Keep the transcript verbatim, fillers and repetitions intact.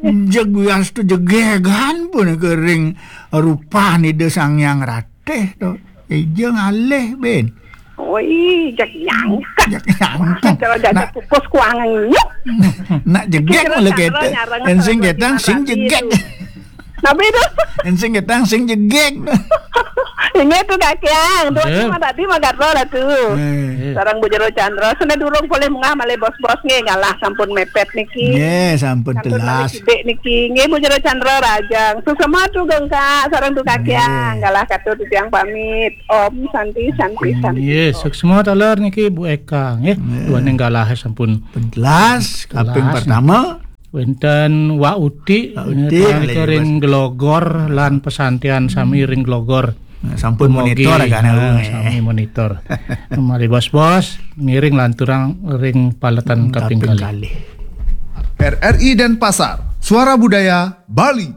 Jeg wias tu jegegan pun ke ring rupan Ida Sang Hyang Ratih tu. Ija ngalih, Ben. Oi, jeg nyangka. Jeg nyangka. Kalau jaga Nak, kukus kuangan nyuk. Nak jegeg Kira mula cara kata. nyarang Ensing sarang ketang sing laki jegeg. tu. Nabi tu. Ensing ketang sing jegeg. Ini tu Kak Kiang, tu Ya. Mah tadi mah gatel lah tu. Eh. Eh. Sarang Bu Jero Chandra, sudah durung boleh mengah malih bos-bos nggih, ngalah sampun mepet niki. Nggih, sampun Sampun telas. malih sibuk niki. Nggih, Bu Jero Chandra rajang. Suksma tu geng Kak, sarang tu Kak Kiang. Nggih. Ngalah katu titiang pamit. Om Santi, Santi, Santi. Nggih, suksma taler niki Bu Eka nggih. Nggih. Duaning galah sampun Telas, kaping Telas. Pertama. Wenten Wak Uti, Wak Uti, niki nggih, ring Glogor lan pesantian sami ring Glogor. Nah, sampun Mogi, monitor kan. nah, sami monitor. Mari bos-bos, ngiring lanturang ring paletan kaping kali. R R I Denpasar, Suara Budaya Bali.